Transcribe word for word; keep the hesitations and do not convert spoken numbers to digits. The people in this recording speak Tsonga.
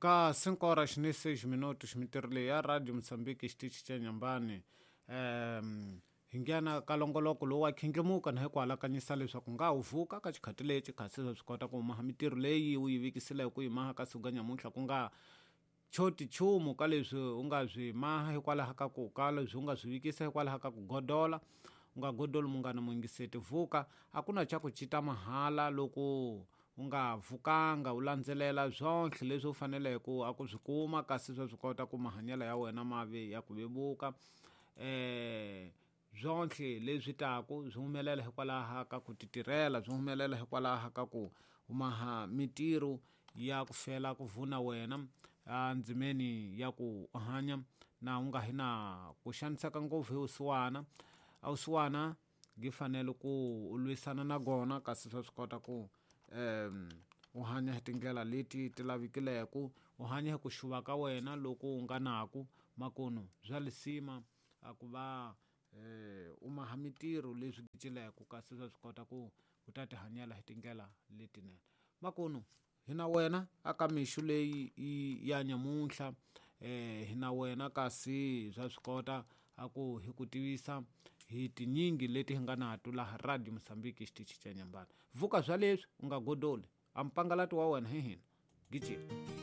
Ka cinco horas ni seis minutos mintirho leyi ya Radio Mozambique xitichi xa Nyambani um hi nghena ka longoloko lowu wa khindlimuka na hi ku alakanyisa leswaku nga wu vuka ka xikhati lexi kasi swa swi kota ku maha mintirho leyi u yi vikisile ku yi maha ka siku ka nyamuntlha ku nga choti nchumu ka leswi u nga swi maha hikwalaho ka ku ka leswi u nga swi vikisa hikwalaho ka ku godola u nga godoli munghana muyingiseti vuka a ku na xa ku cita mahala loko u nga vukanga u landzelela swonhle leswi u faneleke a ku swi kuma kasi swa swi kota ku mahanyelo ya wena ma ve ya ku vevuka eh swonhle leswi taku swi humelela hikwalaho ka ku titirhela swi humelela hikwalaho ka ku maha mintirho ya ku fela ku vuna wena endzimeni ya ku hanya na u nga hi na ku xaniseka ngopfu hi vusiwana a vusiwana byi fanele ku u lwisana na gona kasi swa swi kota ku um u hanya hi tindlela leti ti lavekileke u hanya hi ku xuva ka wena loko u nga naku makunu bya lisima a ku va eh u maha mintirho leswi gicileke kasi swa swi kota ku u ta ti hanyela hi tindlela letinene makunu hi na wena aka mixo leyi ya nyamuntlha eh hi na wena kasi swa swi kota a ku hi ku tivisa hi tinyingi leti hi nga nato laha Radio Mozambique xitichi xa Nyambani vuka swa leswi u nga godoli a mpangalati wa wena hi hina gijima.